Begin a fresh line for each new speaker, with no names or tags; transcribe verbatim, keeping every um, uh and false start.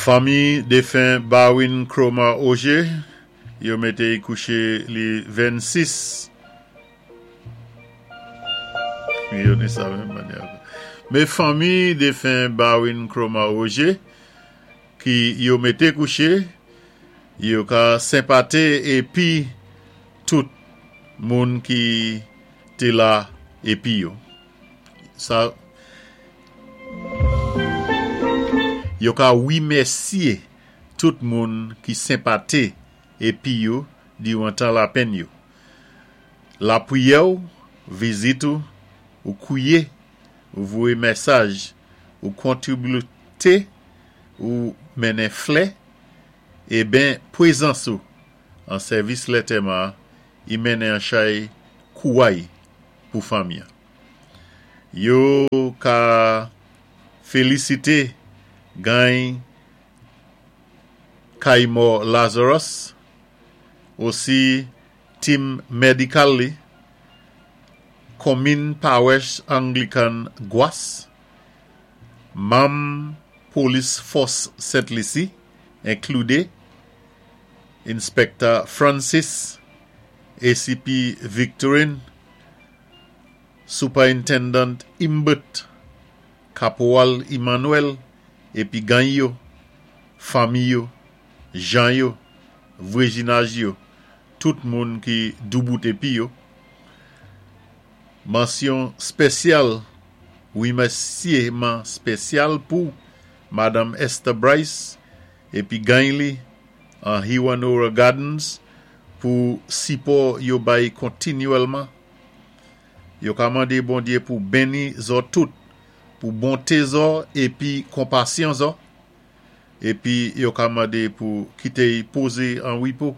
Fanmi défen Barwin Chroma Auger, yo mété kouché li vennsis. Yo ni sa menm mannyè. Mé fanmi défen Barwin Chroma Auger, ki yo mété kouché, yo ka senpaté épi tout moun ki té la épi yo. Sa yo ka wimèsyé tout moun ki senpaté épi yo diwan tan lapenn yo. Lapriyè ou, vizit ou, ou kouwyé, ou voyé mésaj, ou kontribité, ou mennen flè, eben pwézans ou an sèvis lantèman i mennen an chay kouway pou fanmi. Yo ka félisité gany Kaimo Lazarus, osi team médikal li, Konmin Pawès Anglikan Gwas, manm Polis Fòs Sent Lisi, enklidé Inspector Francis, A C P Victorine, Superintendent Imbert, Kaporal Emmanuel, épi gany yo, fanmi yo, jan yo, vwazinaj yo, tout moun ki doubout épi yo. Mansyon spésyal, wimèsyéman spésyal pou Madame Esther Bryce épi gany li an Hewanorra Gardens pou sipò yo bay kontinyèlman. Yo ka mandé Bondyé pou béni zòt tout, pou bonté zòt épi konpasyon zòt. Épi yo ka mandé pou kité pozé an wépo.